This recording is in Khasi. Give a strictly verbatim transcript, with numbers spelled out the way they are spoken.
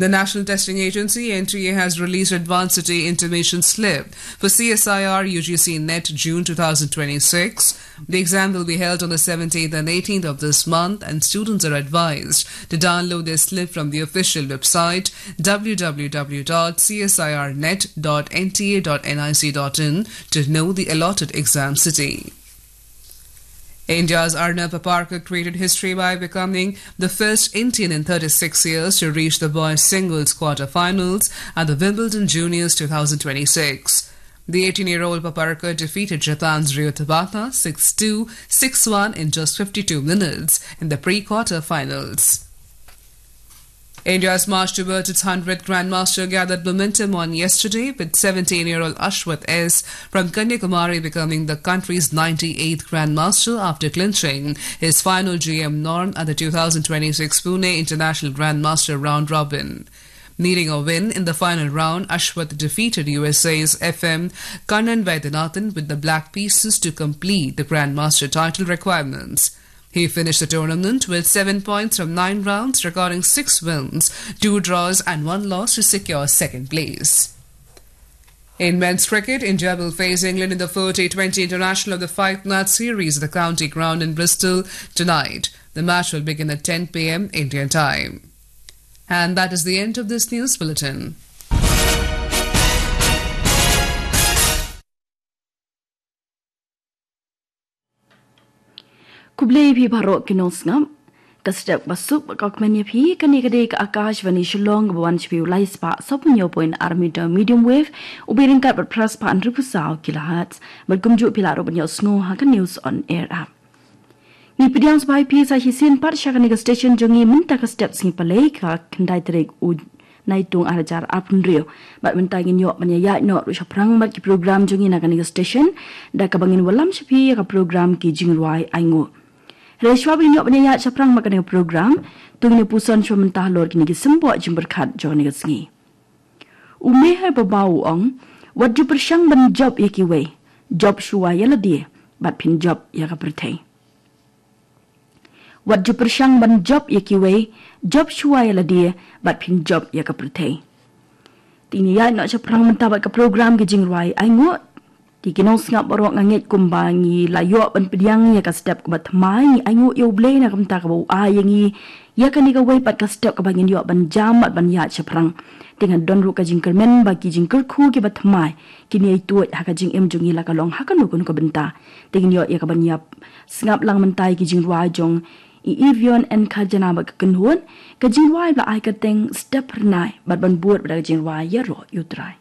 The National Testing Agency, N T A, has released Advanced City Intimation Slip for C S I R U G C NET June two thousand twenty-six. The exam will be held on the seventeenth and eighteenth of this month, and students are advised to download their slip from the official website, w w w dot c s i r net dot n t a dot n i c dot in, to know the allotted exam city. India's Arnab Paparkar created history by becoming the first Indian in thirty-six years to reach the boys' singles quarterfinals at the Wimbledon Juniors two thousand twenty-six. The eighteen-year-old Paparkar defeated Japan's Ryo Tabata six two, six one in just fifty-two minutes in the pre-quarterfinals. India's march towards its hundredth Grandmaster gathered momentum on yesterday, with seventeen-year-old Ashwath S from Kanyakumari becoming the country's ninety-eighth Grandmaster after clinching his final G M norm at the two thousand twenty-six Pune International Grandmaster Round Robin. Needing a win in the final round, Ashwath defeated U S A's F M Kannan Vaidyanathan with the Black Pieces to complete the Grandmaster title requirements. He finished the tournament with seven points from nine rounds, recording six wins, two draws, and one loss to secure second place. In men's cricket, India will face England in the four T twenty international of the five match series at the County Ground in Bristol tonight. The match will begin at ten p m Indian time. And that is the end of this news bulletin. Khublei phi baroh ki nongsngap. Ka step ba suk ba ka kmen ïa phi, kane ka dei ka Akashvani Shillong, kaba wan sha phi u lai spah saphew point ar meter medium wave, u byrngkat bad phra spah hynriew phew saw kilohertz. Bad kumjuh phi lah ruh ban ïohsngew ha ka News on Air app. Ngi pdiang sngewbha ïa phi sa shisien pat sha kane ka station jong ngi mynta ka step sngi Palei, ka khyndai tarik u Naitung ar hajar arphew hynriew. Bad mynta ngin ïoh ban ïaid noh ruh shaphrang bad ki program jong ngi na kane ka station, da kaba ngin wallam sha phi ïa ka program Ki Jingrwai Ainguh. Hynrei shwa ba ngin ïoh ban ïaid shaphrang bad kane ka program, to ngin ïa puson shwa mynta halor kine ki symboh jingpyrkhat jong kane ka sngi. U Meher Baba u ong, wat ju pyrshang ban jop ïa kiwei, jop shuwa ïa lade, bad phin jop ïa ka pyrthei. Wat ju pyrshang ban jop ïa kiwei, jop shuwa ïa lade, bad phin jop ïa ka pyrthei. Te ngin ïaid noh shaphrang mynta bad ka program Ki Jingrwai Ainguh. Te ki nongsngap baroh, nga ngeit kumba ngi la ïoh ban pdiang ïa ka step kaba thymmai, ngi ainguh ïa U Blei na ka bynta kaba u ai ïa ngi ïa kane kawei pat ka step kaba ngin ïoh ban jam bad ban ïaid shaphrang. Te nga don ruh ka jingkyrmen ba ki jingkyrkhu kiba thymmai kin ïai tuid ha ka jingim jong ngi la ka long ha kano kano ka bynta. Te ngin ïoh ïa kaban ïa sngap lang mynta ïa ki jingrwai jong i Evian N Kharjana bad ka kynhun, ka jingrwai ba la ai kyrteng Step Phyrnai, bad ban bud bad ka jingrwai Ïaroh ïa U Trai.